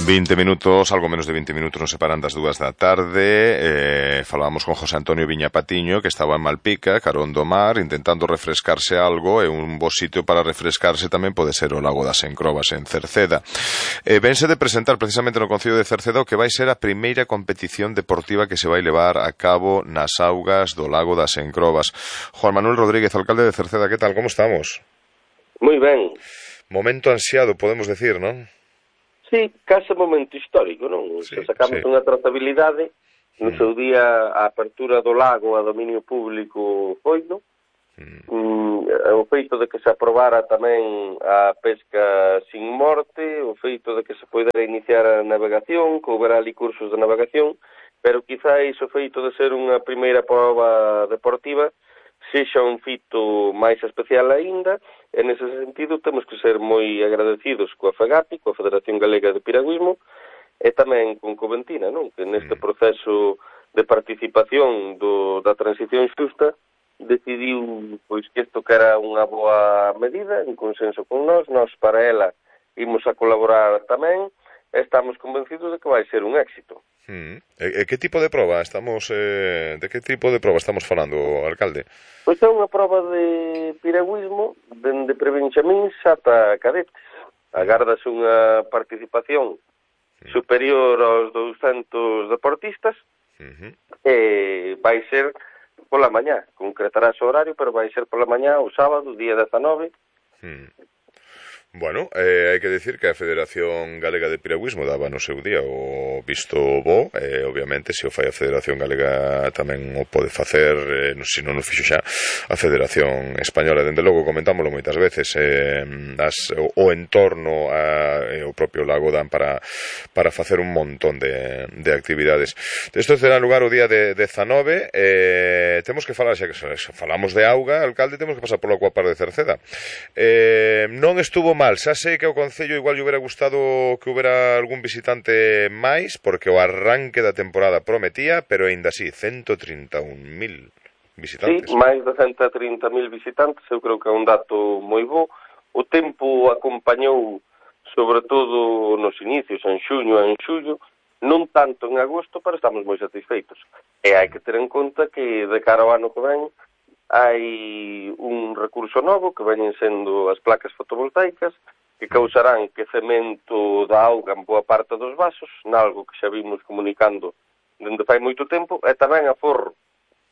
20 minutos, algo menos de 20 minutos nos separan das 2 da tarde. Falábamos con José Antonio Viña Patiño, que estaba en Malpica, carón do mar, intentando refrescarse algo, e un bo sitio para refrescarse tamén pode ser o Lago das Encrobas en Cerceda. Vense de presentar precisamente no Concello de Cerceda o que vai ser a primeira competición deportiva que se vai levar a cabo nas augas do Lago das Encrobas. Juan Manuel Rodríguez, alcalde de Cerceda, que tal, como estamos? Moi ben. Momento ansiado, podemos decir, non? Sí, case momento histórico, non? Sí, Se sacamos unha trazabilidade, no seu día a apertura do lago a dominio público foi, non? O feito de que se aprobara tamén a pesca sin morte, o feito de que se poidera iniciar a navegación, que houbera ali cursos de navegación, pero quizáis o feito de ser unha primeira prova deportiva sexa un fito máis especial aínda, e nese sentido temos que ser moi agradecidos coa FEGAPI, coa Federación Galega de Piragüismo, e tamén con Coventina, non? Que neste proceso de participación da transición xusta decidiu pois que isto que era unha boa medida, en consenso con nós para ela imos a colaborar tamén, e estamos convencidos de que vai ser un éxito. E que tipo de prova de que tipo de prova estamos falando, alcalde? Pois é unha prova de piragüismo dende prebenxamíns ata cadetes. Agárdase unha participación superior aos 200 deportistas e vai ser pola mañá. Concretarás o horario, pero vai ser pola mañá o sábado, día 19. Bueno, hai que decir que a Federación Galega de Piragüismo daba no seu día o visto bo, obviamente, se o fai a Federación Galega tamén o pode facer, se non o fixo xa a Federación Española. Dende logo, comentámoslo moitas veces, o entorno o propio lago dan para facer un montón de actividades. Isto terá lugar o día de 19, temos que falar, xa que falamos de auga, alcalde, temos que pasar polo Acuapar de Cerceda. Non estuvo mal, xa sei que ao Concello igual lle hubiera gustado que hubiera algún visitante máis, porque o arranque da temporada prometía, pero aínda así, 131.000 visitantes. Sí, máis de 130.000 visitantes, eu creo que é un dato moi bo. O tempo acompañou, sobre todo nos inicios, en xuño e en xullo, non tanto en agosto, pero estamos moi satisfeitos. E hai que ter en conta que de cara ao ano que ven hai un recurso novo que veñen sendo as placas fotovoltaicas que causarán quecemento da auga en boa parte dos vasos, nalgo que xa vimos comunicando dende fai moito tempo, e tamén aforro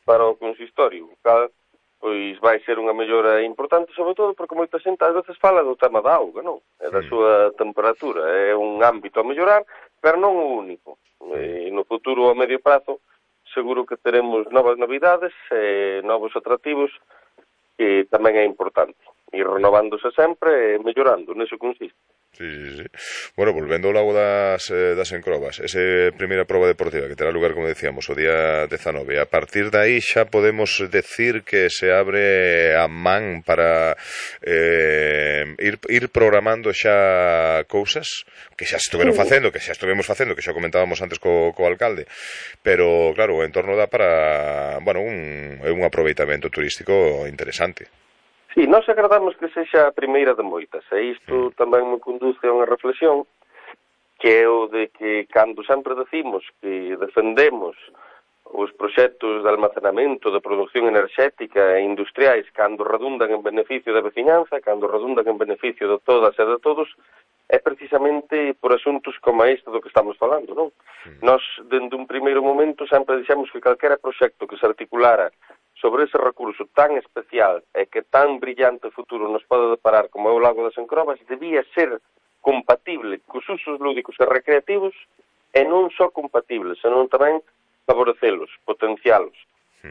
para o consistorio, cal pois vai ser unha mellora importante, sobre todo porque moita xente ás veces fala do tema da auga, non? E da súa temperatura, é un ámbito a mellorar, pero non o único. E no futuro a medio prazo seguro que teremos novas novidades e novos atractivos que tamén é importante. Ir renovándose sempre e mellorando, neso consiste. Sí. Bueno, volvendo ao Lago das Encrobas, esa primeira prova deportiva que terá lugar, como decíamos, o día 19, a partir de aí xa podemos decir que se abre a man para ir programando xa cousas que xa estuvemos facendo, que xa comentábamos antes co alcalde, pero claro, o entorno dá para, bueno, un aproveitamento turístico interesante. Sí, nós agradamos que sexa a primeira de moitas, e isto tamén me conduce a unha reflexión que é o de que cando sempre decimos que defendemos os proxectos de almacenamento, de produción enerxética e industriais cando redundan en beneficio da veciñanza, cando redundan en beneficio de todas e de todos, é precisamente por asuntos como este do que estamos falando, non? Nós, dende un primeiro momento, sempre dixemos que calquera proxecto que se articulara sobre ese recurso tan especial e que tan brillante futuro nos pode deparar como é o Lago das Encrobas debía ser compatible cos usos lúdicos e recreativos e non só compatibles, senón tamén favorecelos, potencialos.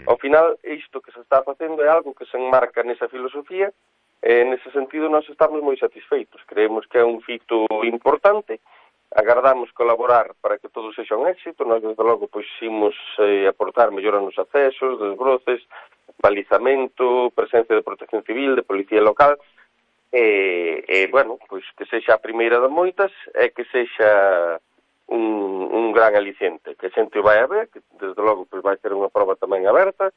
Ao final, isto que se está facendo é algo que se enmarca nesa filosofía e nese sentido nós estamos moi satisfeitos. Creemos que é un fito importante, agardamos colaborar para que todo sexa un éxito. Nós, desde logo, pois imos aportar mellora nos accesos, desbroces, balizamento, presencia de protección civil, de policía local, bueno, pois que sexa a primeira de moitas e que sexa un gran aliciente, que a xente o vai a ver, que desde logo pois vai ser unha prova tamén aberta,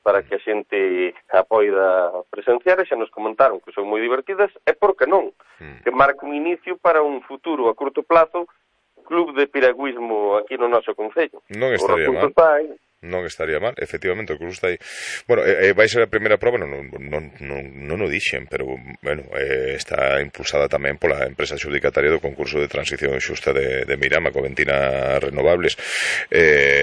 para que a xente a poida presenciar, e xa nos comentaron que son moi divertidas, e por que non? Que marca un inicio para un futuro a curto plazo club de piragüismo aquí no noso concello. Non estaría mal. Non estaría mal, efectivamente, o Cruz está aí. Bueno, vai ser a primeira proba, non o dixen, pero, bueno, está impulsada tamén pola empresa xudicataria do concurso de transición xusta de Mirama, Coventina Renovables.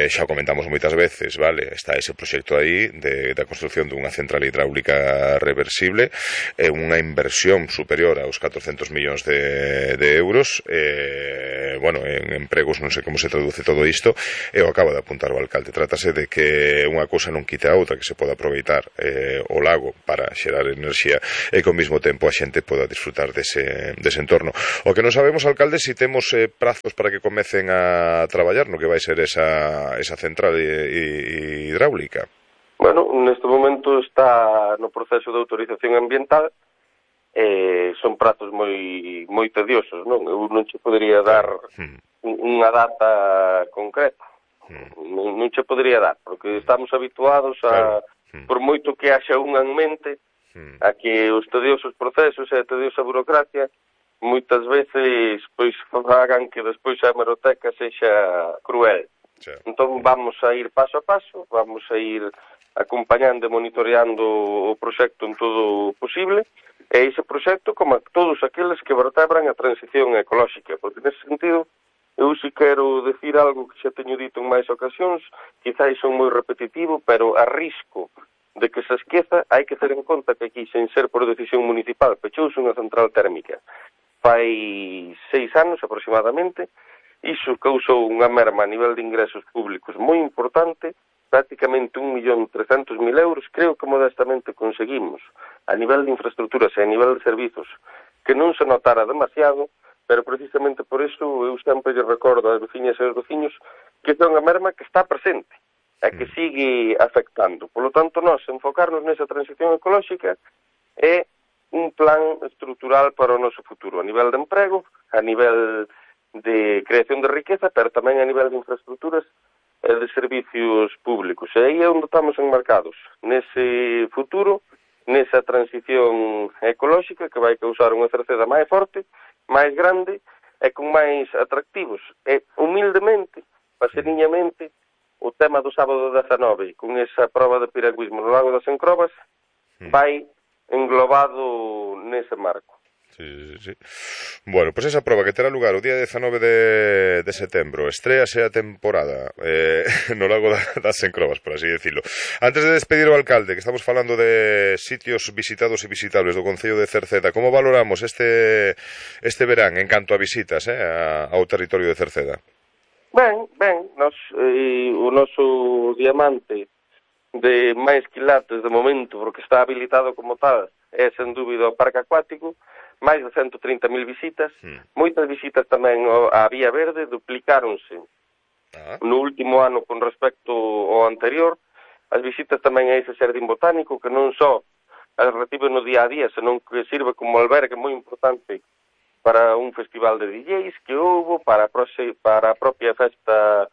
Xa o comentamos moitas veces, vale, está ese proxecto aí da construcción dunha central hidráulica reversible, unha inversión superior aos 400 millóns de euros, bueno, en empregos non sei como se traduce todo isto, e o acaba de apuntar o alcalde. Trátase de que unha cousa non quite a outra, que se poda aproveitar o lago para xerar enerxía e que ao mesmo tempo a xente poda disfrutar dese entorno. O que non sabemos, alcalde, se temos prazos para que comecen a traballar no que vai ser esa central hidráulica. Bueno, neste momento está no proceso de autorización ambiental, son prazos moi tediosos, non? Eu non che podería dar unha data concreta. Non che podería dar, porque estamos habituados a, por moito que haxa unha en mente, a que os tediosos procesos e a tediosa burocracia moitas veces pois fagan que despois a hemeroteca sexa cruel. Entón vamos a ir paso a paso, vamos a ir acompañando e monitoreando o proxecto en todo o posible, e ese proxecto como todos aqueles que vertebran a transición ecolóxica, porque nese sentido eu si quero decir algo que xa teño dito en máis ocasións, quizás son moi repetitivo, pero a risco de que se esqueza, hai que ter en conta que aquí, sen ser por decisión municipal, pechouse unha central térmica fai 6 anos aproximadamente. Iso causou unha merma a nivel de ingresos públicos moi importante, prácticamente 1.300.000 euros, creo que modestamente conseguimos, a nivel de infraestructuras e a nivel de servizos, que non se notara demasiado, pero precisamente por iso eu sempre lle recordo ás veciñas e aos veciños que é unha merma que está presente e que sigue afectando. Por lo tanto, nós enfocarnos nesa transición ecolóxica é un plan estrutural para o noso futuro, a nivel de emprego, a nivel de creación de riqueza, pero tamén a nivel de infraestructuras e de servicios públicos. E aí é onde estamos enmarcados, nese futuro, nesa transición ecolóxica que vai causar unha Cerceda máis forte, máis grande e con máis atractivos. E, humildemente, paseniñamente, o tema do sábado 19, con esa proba de piragüismo no Lago das Encrobas, vai englobado nese marco. Sí. Bueno, pois esa proba que terá lugar o día 19 de setembro, estréase a temporada no Lago das Encrobas, por así decirlo. Antes de despedir o alcalde, que estamos falando de sitios visitados e visitables do Concello de Cerceda, como valoramos este verán en canto a visitas ao territorio de Cerceda? Ben, o noso diamante de máis quilates de momento, porque está habilitado como tal, é sen dúbida o parque acuático, máis de 130.000 visitas, moitas visitas tamén á Vía Verde, duplicáronse no último ano con respecto ao anterior, as visitas tamén a ese xardín botánico, que non só as recibe no día a día, senón que sirve como albergue moi importante para un festival de DJs que houbo, para a propia festa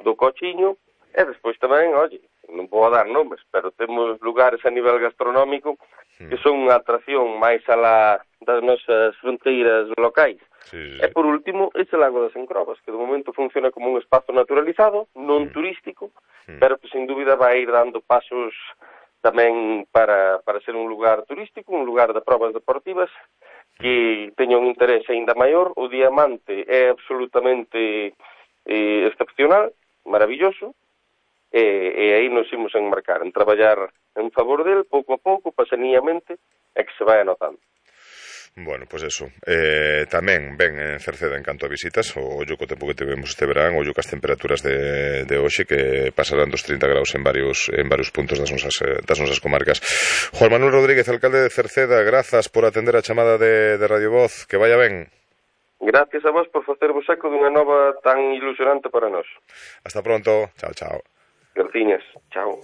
do Cochiño, e despois tamén, non vou dar nomes, pero temos lugares a nivel gastronómico que son unha atracción máis alá das nosas fronteiras locais. E por último, ese Lago das Encrobas, que de momento funciona como un espazo naturalizado, non turístico, pero que sin dúbida vai ir dando pasos tamén para ser un lugar turístico, un lugar de probas deportivas, que teña un interés aínda maior. O diamante é absolutamente excepcional, maravilloso, e aí nos imos enmarcar en traballar en favor del, pouco a pouco, paseniñamente, e que se vai anotando. Bueno, pois eso. Tamén ven en Cerceda en canto a visitas, o ollo co tempo que tivemos este verán, ollo cas temperaturas de hoxe que pasarán dos 30 graus en varios puntos das nosas comarcas. Juan Manuel Rodríguez, alcalde de Cerceda, grazas por atender a chamada de Radio Voz, que vaya ben. Gracias a vos por facervos eco dunha nova tan ilusionante para nós. Hasta pronto. Chao. Graciñas. Chao.